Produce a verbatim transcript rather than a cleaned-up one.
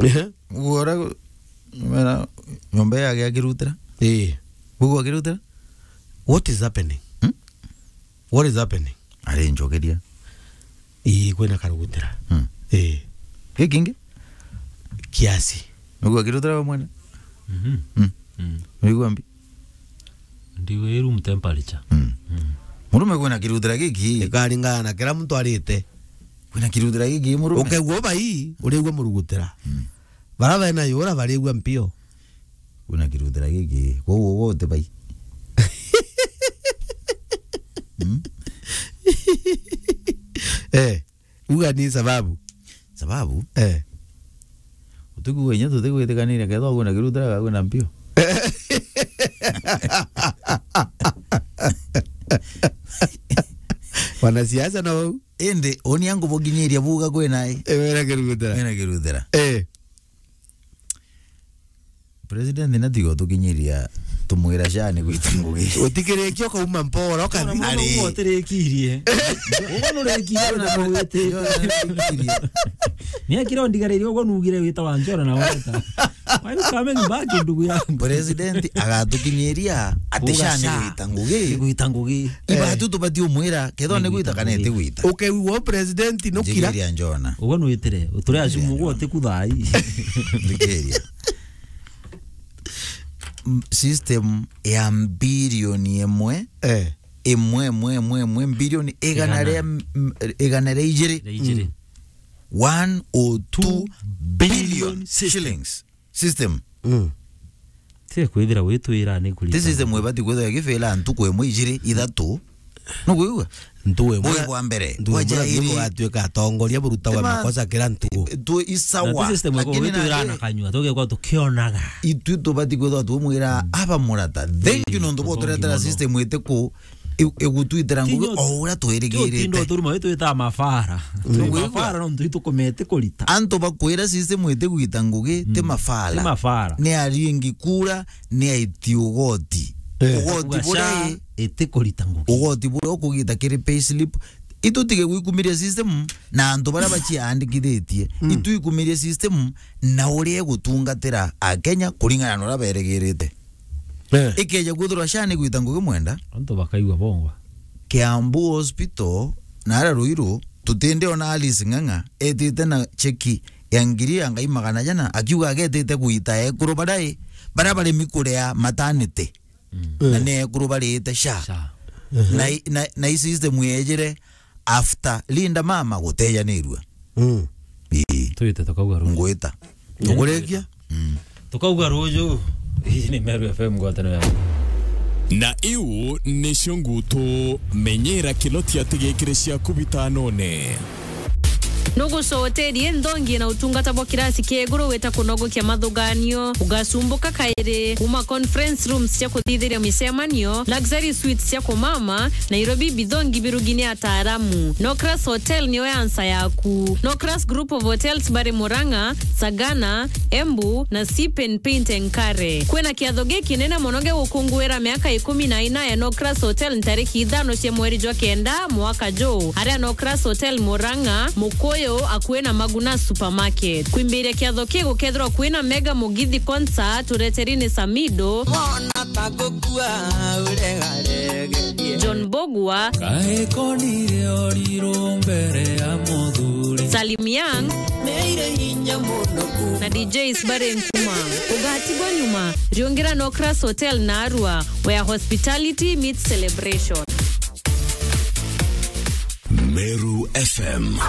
Ehe. Uguo ura, mera, nyomba yake akirutira. Eh. Uguo akirutira? What is happening? Hmm? What is happening? Ari njokeria. Ii, kwina karugutira. Hmm. Eh. Gikingi? Kiasi. Uguo akirutira we mwene? Mhm. Hmm. Mm. Uigua mbi? Ndigwa i room temperature. Mm. Mm. Murume kwina kirutira giki. Ikaringana na kira muntu arite. Kwina kirutira giki murume. Ukaigua bai, urigua murugutira. Mm. Bara bena yura barigua mpio. Kwina kirutira giki. Kwou uguo uti bai. Mm. Eh. Uga ni sababu. Sababu? Eh. Utuku wenye tutigwitikaniria kethwa kwina kirutira ga kwina mpio. Wanasiasa na wau. Indi, uni angubukinyiria buga kwina i. Eh, wena kirutira. Kwina kirutira. Eh. President natiga utukinyiria, tumwira sha ni gwita ngugi. Utikirikia ukauma mpora, ukathi. Ona mwana Ari. Uguo utirikirie. Uguo nurikirie na mawiti. Ni akira undigaririe uguo nugire wita wa njora na weta. Why you coming back, ndugu yangu? President agatukinyiria ati Uga sha ni sha. Gwita ngugi. Ni gwita ngugi. Iba Eh. tu tubati umwira, kethwa ni gwita kana iti gwita. Ukeigua president nukira. Njigiria njona. Uguo nwitire, uturi acumu uguo uti kuthai. Thikiria. M-, system ya bilioni imwe, Eh. imwe, imwe, imwe, imwe, bilioni igana Igana. ria, m-, igana ria ijiri. Ria ijiri. Mm. One oh two billion shillings. System. Mm. Ti kwithira witwira ni kurita. Ti system ibati kwithira igifila ntuku imwe, ijiri, ithatu. Nukwigua? Ntuwe Bui mura-, bwa mbere, ntuwe mura-, bwajairi. Niko atuika atongoria buruta wa Tima-, makosa kira ntuku. Tu isawa. Na ti system iko Lakini gwitwira nandi na kanyua, tugekwa tukionaga. Itwi tubati kwithwa tumwira, Mm. aba murata. Thank you, Ii, nontu bwa thank you turetera mono. System itiku, i-, igutwitira Ti ngugi nyo-, o uria ti utinda twirigirite. Uturuma witwita mafara. Mm. Twi Nukwigua? Mafara nontu itukumete kurita. Antu bakwira system itigwita ngugi, ti Mm. mafara. Ti mafara. Ni aringi kura, ni aiti ugoti. Eh. Ugoti Kuga buria sha i-, itikurita ngugi. Ugoti buria ukugita kiri payslip. Itu tige gwikumiria system na antu baria baciandikithitie. Mm. Itu ikumirie system na uria igutungatira Akenya kuringana na uria berigirite. Eh. Ikeja kwithirwa sha ni gwita ngugi mwenda. Antu bakaigua bongwa. Kiambu Hospital, na aria Ruiru, tutindi ona Alice Ng'ang'a etite na cheki ya ngiri ya ngai magana jana, akiuga agetite gwita ekuru baria i, baria baremi kuria maternity. Mm. Na ni ekuru barite sha. Sha. Na i-, na, na i system yejire after Linda mama gutejanirua. Mm. Ii. Twite tukauga ruju. Ngwita. Ukurikia? Mm. Tukauga ruju. Hii ni Meru F M, ngwataniro ya. Na iu nicio ngutu, menyera kilotia tigikire ciaku bitanone. Nugucoterie nthongi na utungata bwa kirasi kia iguru wita kunogokia mathuganio, ugacumbuka kairi kuma conference rooms cia kuthithiria micemanio, luxury suites cia kumama, Nairobi, bithongi birugini ataaramu. Nocras Hotel niyo ya nsa yaku. Nocras Group of Hotels bari Murang'a, Sagana, Embu na Sipen Paint and Care. Kwina kiatho gikinene mono gia gukunguira miaka ikumi na ina ya Nocras Hotel ntariki ithano cia mweri jwa kenda mwaka juu, aria Nocras Hotel Murang'a, Mukuyu, akui na Maguna Supermarket. Kwimbiria kiatho ki gukethirwa kwina mega mugithi concert ureteri ni Samido. Mona ta gukua uregaregerie. John Bogwa. Kae konire oriru mbere ya muthuri. Salim Young. Neire hinya muno ku- Na D Js bari nkuma. Ugatigwa nyuma, riungira Nocras Hotel na Arua, where hospitality meets celebration. Meru F M.